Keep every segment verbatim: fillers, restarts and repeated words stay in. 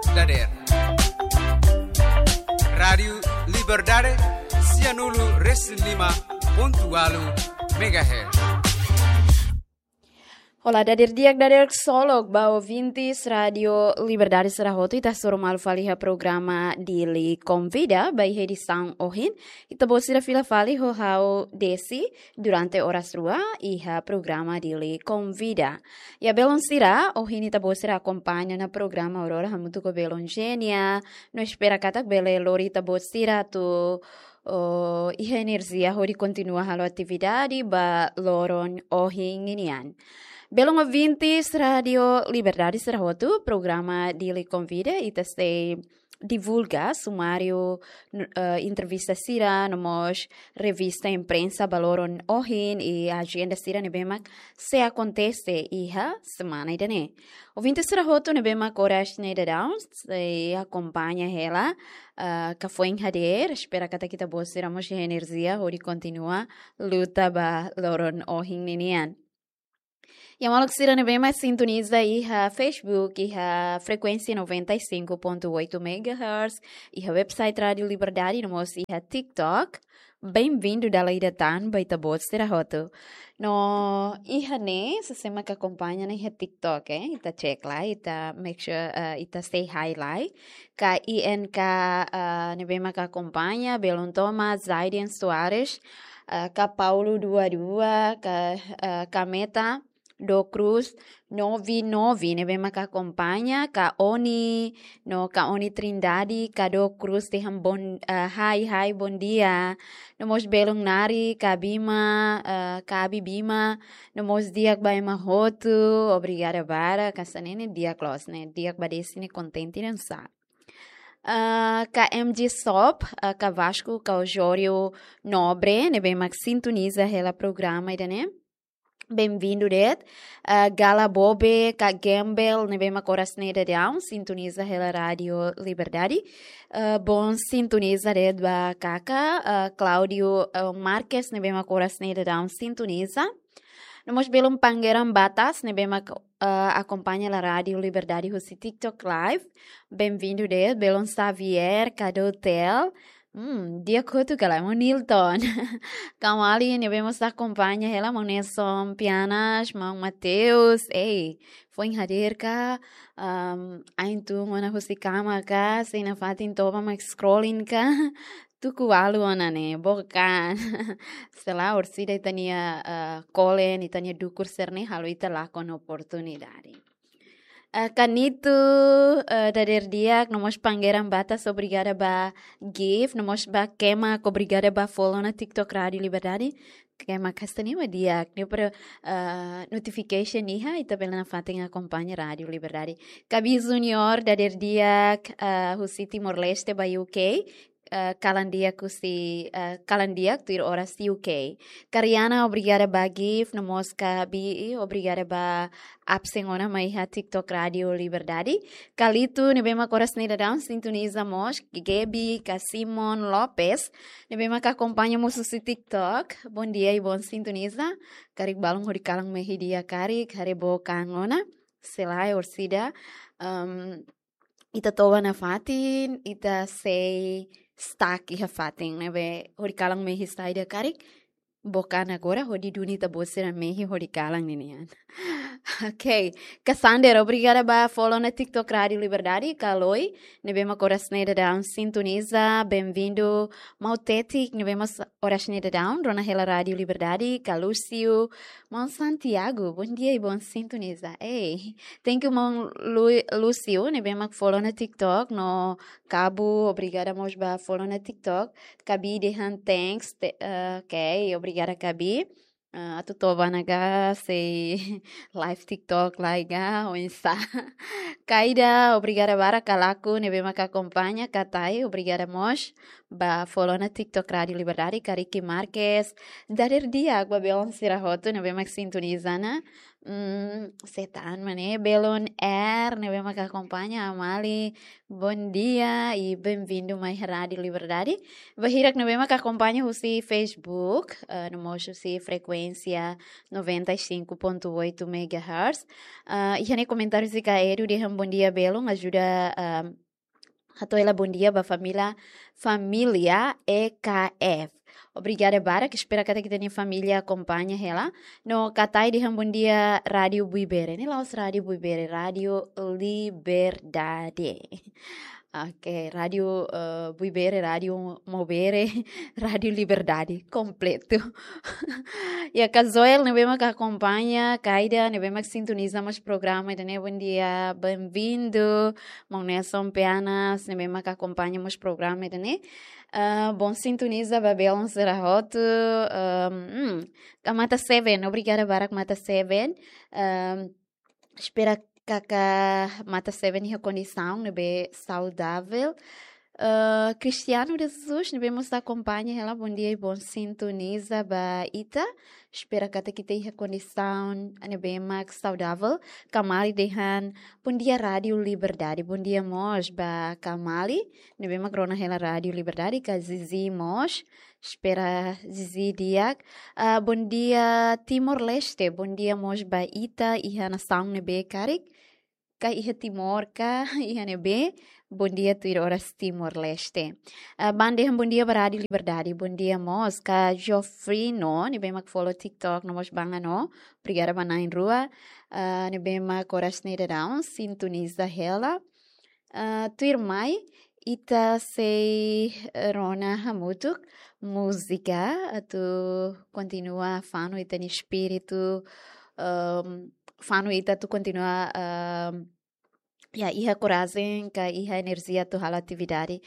Dader. Rádiu Liberdade, sianulu resin lima pontu ualu megahertz. Olá, dader di'ak, dader ksolok ba ouvintes Rádiu Liberdade sira hotu, ita hasoru malu fali iha programa Dili Konvida, ba iha edisaun ohin ita-boot sira fila fali ho ha'u Desi durante oras rua iha programa Dili Konvida. Ya, belun sira, ohin ita-boot sira akompaña ona programa Aurora hamutuk ho belun Genia, no espera katak bele lori ita-boot sira atu, oh, iha enerjia hodi kontinua halo atividade ba loron ohin ninian. Belun ouvintes Rádiu Liberdade sira hotu, programa Dili Konvida ita sei divulga sumáriu, n-, eh, entrevista sira, no mós revista imprensa ba loron ohin i ajenda sira ne'ebé mak sei akontese iha semana ida-ne'e. Ouvintes sira hotu ne'ebé mak oras ne'e daudaun sei akompaña hela, eh, ka foin hadeer, espera katak ita-boot sira mós iha enerjia hodi kontinua luta ba loron ohin ninian. Ya, maluk sira ne'ebé mak sintoniza iha Facebook, iha frekuénsia noventa e cinco ponto oito megahertz, iha website Rádiu Liberdade, no mós iha TikTok. Bem-vindo dala ida tan ba ita-boot sira hotu. No iha ne'e, sé-sé mak akompaña ona iha TikTok, eh? Ita cek lai, ita make sure, eh, ita say hi lai. Ka I N K, eh, ne'ebé mak akompaña, belun Thomas, Zaiden Soares, eh, ka Paulo dua dua, ka, eh, ka Meta do Cruz nove nove, ne'ebé mak akompaña, ka Oni, no ka Oni Trindade, ka do Cruz dehan bon, eh, hi, hi, bondia. No mós belun Nari, ka Bima, eh, ka Abi Bima, no mós di'ak ba ema hotu, obrigada barak, ka sa ne'e ne'e di'ak loos ne'e, di'ak ba Desi ne'e kontente nusá. Ah, ka M G Shop, ah, ka Vasco, ka Osório Nobre, ne'ebé mak sintoniza hela programa ida-ne'e. Bem-vindo de'it. Ah, Gala Bobe, ka Gembel, ne'ebé mak oras ne'e daudaun sintoniza hela Rádiu Liberdade. Ah, bon sintoniza de'it ba Kaka, ah, Claudio, ah, Marques, ne'ebé mak oras ne'e daudaun sintoniza. No mós belun Pangeran Batas, ne'ebé mak, eh, akompaña hela Rádiu Liberdade husi TikTok Live. Bem-vindo de'it, belun Xavier, ka Dotel. Hmm, di'ak hotu ka lae, maun Nilton. Kamali, ne'ebé mós akompaña hela, maun Nelson Pianas, maun Mateus. Ei, foin hadeer ka, um, ain tun ona husi kama ka, sei nafatin toba mak scrolling ka. Tuku ualu ona ne'e, bokan. Sei la, orsida ita-nia, eh, kolen, ita-nia dukur sira-ne'e halo ita lakon oportunidade. Eh, Kanito, eh, dader di'ak, no mós Pangeran Batas, obrigada ba gift, no mós ba Kema, obrigada ba follow ona TikTok Rádiu Liberdade. Kema kasta ni ma di'ak, ni para, eh, notification iha, ita bele nafatin akompaña Rádiu Liberdade. Kabi Junior, dader di'ak, eh, husi Timor-Leste ba U K. Eh, kalan di'ak husi, eh, kalan di'ak tuir oras U K. Kariana, obrigada ba gift, no mós ka Bi, obrigada ba absen ona mai iha TikTok Rádiu Liberdade. Kalito, ne'ebé mak oras ne'e daudaun sintoniza mós, Gebi, ka Simon Lopes, ne'ebé mak akompaña mós husi TikTok. Bondia i bon sintoniza. Karik balun hodi kalan mehi di'ak karik, haree book an ona. Sei la, orsida, um, ita toba nafatin, ita sei stuck iha fatin, ne'ebé hodi kalan mehi saida karik, book an agora hodi duni ita-boot sira mehi hodi kalan ninian. Ok, ka Sander, obrigada ba follow ona TikTok Rádiu Liberdade, ka Loi, ne'ebé mak oras ne'e daudaun sintoniza, bem-vindo, Mautetik, ne'ebé mós oras ne'e daudaun rona hela Rádiu Liberdade, ka Lúcio, maun Santiago, bondia i bon sintoniza. Ei, thank you, maun Lu-, Lúcio, ne'ebé mak follow ona TikTok, no Kabu, obrigada mós ba follow ona TikTok. Kabi dehan thanks, te-, eh, ok, obrigada Kabi. Eh, atu toba ona ka sei live TikTok lai ka, oinsá. Kaida, obrigada barak ka Laku, ne'ebé mak akompaña, ka Tai, obrigada mós ba follow ona TikTok Rádiu Liberdade, ka Ricky Marques. Dader di'ak ba belun sira hotu, ne'ebé mak sintoniza ona. mm, setan mane, Belon R, ne'ebé mak akompaña, Amali, bom dia, e bem-vindo mai Rádio Liberdade. Ba hirak ne'ebé mak akompaña husi Facebook, eh, no mós husi frekuénsia noventa e cinco ponto oito megahertz. Ah, iha ne'e komentáriu husi Kaedu dehan bom dia Belon, ajuda, ah, hato'o hela bom dia ba família, família E K F. Obrigada barak, espera katak ita-nia família akompaña hela. No Katai dehan bom dia Rádio Buibere. Ne'e la'ós Rádio Buibere, Rádio Liberdade. Oke, Rádio, eh, Buibere, Rádio Maubere, Rádio Liberdade, kompletu. Ya, Kazoel, ne'ebé mak akompaña, Kaida, ne'ebé mak sintoniza mós programa ida-ne'e, bom dia, bem-vindo. Maun Nelson Peanas, ne'ebé mak akompaña mós programa ida-ne'e. Ah, bom sintoniza ba belun sira hotu. Ah, hmm, ka Mata Seven, obrigada barak Mata Seven. Ah, espera katak Mata Seven iha kondisaun ne'ebé saudável. Ah, Cristiano de Jesus, ne'ebé mós akompaña hela, bom dia e bom sintoniza ba ita. Espera katak ita iha kondisaun ne'ebé mak saudável. Kamali dehan, bom dia Rádio Liberdade. Bom dia mós ba Kamali, ne'ebé mak rona hela Rádio Liberdade, ka Zizi mós. Espera Zizi di'ak. Ah, bom dia Timor-Leste. Bom dia mós ba ita iha nasaun ne'ebé karik. Ka iha Timor ka iha ne'ebé. Bom dia tuir oras Timor-Leste. Ah, banda dehan bom dia ba Rádio Liberdade. Bom dia mós ka Jofrino, ne'ebé mak follow TikTok no mós banga no. Obrigada ba na'in-rua. Ah, ne'ebé mak oras ne'e daudaun sintoniza hela. Ah, tuirmai, ita sei rona hamutuk múzika atu kontinua fanu ita-nia espíritu, ehm, fanu ita atu kontinua, ehm, ya, iha korajen ka iha enerjia atu halo atividade.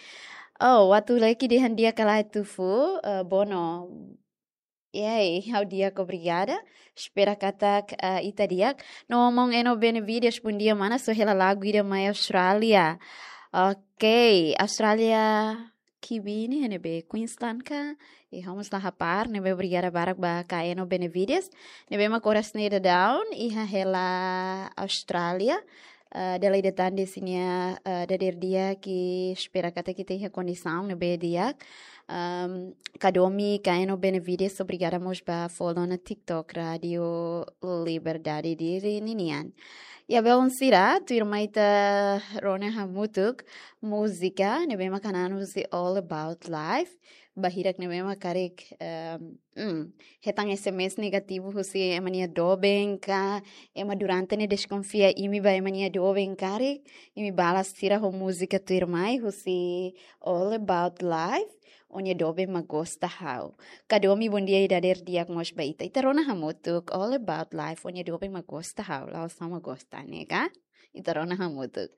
Oh, atu leki dehan di'ak ka lae tufu, eh, Bono. Yay, ha'u di'ak, obrigada. Espera katak, ah, ita di'ak. No maun Eno Benevides, bom dia mana, só hela lagu ida mai Austrália. Ok, Austrália Kibini, ne'ebé Queensland ka? E vamos lá rapar, ne'ebé obrigada barak ba ka Eno Benevides. Ne'ebé mak oras ne'e daudaun, iha hela Austrália. Ah, dala ida tan de'it sira-nia, ah, dadeer di'ak, espera katak ita iha kondisaun ne'ebé di'ak. Ehm, Kadomi, ka Eno Benevides, obrigada mós ba follow ona TikTok Rádio Liberdade diri ninian. Ya belun sira, tuirmai ita rona hamutuk múzika ne'ebé mak hanan husi All About Life. Ba hirak ne'ebé mak karik, ehm, mm, hetan S M S negativu husi ema nia doben ka, ema durante ne'e deskonfia imi ba ema nia doben karik, imi balas sira ho múzika tuirmai husi All About Life, Ó-nia doben mak gosta ha'u. Kadomi, bom dia i dadeer di'ak mós ba ita. Ita rona hamutuk, All About Life, Ó-nia doben mak gosta ha'u. La'ós ha'u mak gosta, ne'e ka? Ita rona hamutuk.